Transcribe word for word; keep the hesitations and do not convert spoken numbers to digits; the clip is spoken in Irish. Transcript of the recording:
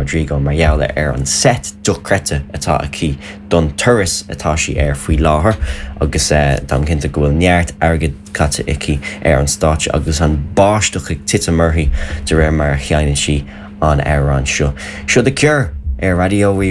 Rodrigo mar gheall ar an set dochreidte atá aici don turas atá sí air faoi láthair agus uh, táim cinnte go bhfuil neart airgid caite aici ar an stáitse agus an báisteach ag titim uirthi de réir mar a sheinneann sí an amhrán seo. Seo The Cure ar Raidió